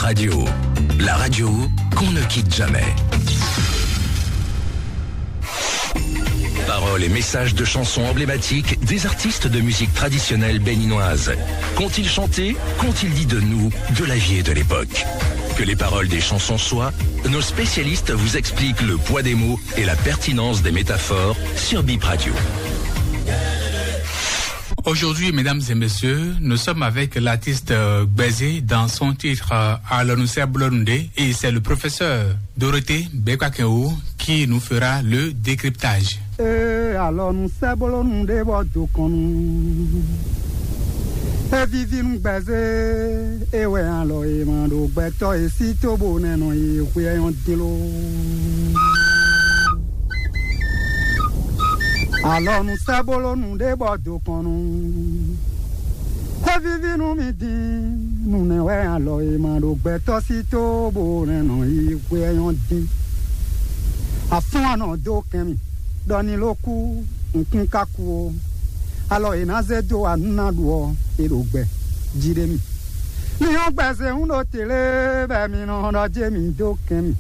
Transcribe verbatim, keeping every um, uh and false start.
Radio, la radio qu'on ne quitte jamais. Paroles et messages de chansons emblématiques des artistes de musique traditionnelle béninoise. Qu'ont-ils chanté ? Qu'ont-ils dit de nous, de la vie et de l'époque ? Que les paroles des chansons soient, nos spécialistes vous expliquent le poids des mots et la pertinence des métaphores sur Bip Radio. Aujourd'hui, mesdames et messieurs, nous sommes avec l'artiste euh, Gbèzé dans son titre euh, Alors nous sommes Blonde et c'est le professeur Dorothée Bekwakenwo qui nous fera le décryptage. Ee, alɔ nu sɛ́ bló nu ɖé bɔ do kɔn nu. E vivi nu gbɛzé, e wɛ alɔ e ma ɖo gbɛtɔ e sí tó bo nɛ nɔ yi hwe ɛyɔn din lo. Alɔ nu sɛ́ bló nu ɖé bɔ do kɔn nu. E vivi nu mi din, nu nɛ wɛ alɔ e ma ɖo gbɛtɔ sí tó bo nɛ nɔ yi hwe ɛyɔn din. Afún anɔ dó kɛn mi, ɖɔ ní ló kú, nkún ká kú ó. Alɔ è nǎ zé dó wa nú ná ɖu ɔ́, è ɖo gbɛ jí ɖé mi. Mi nyɔ́ gbɛzɛ́ ń ɖo tě lé bɔ mi nɔ ɖɔ jé mi dó kɛn mi.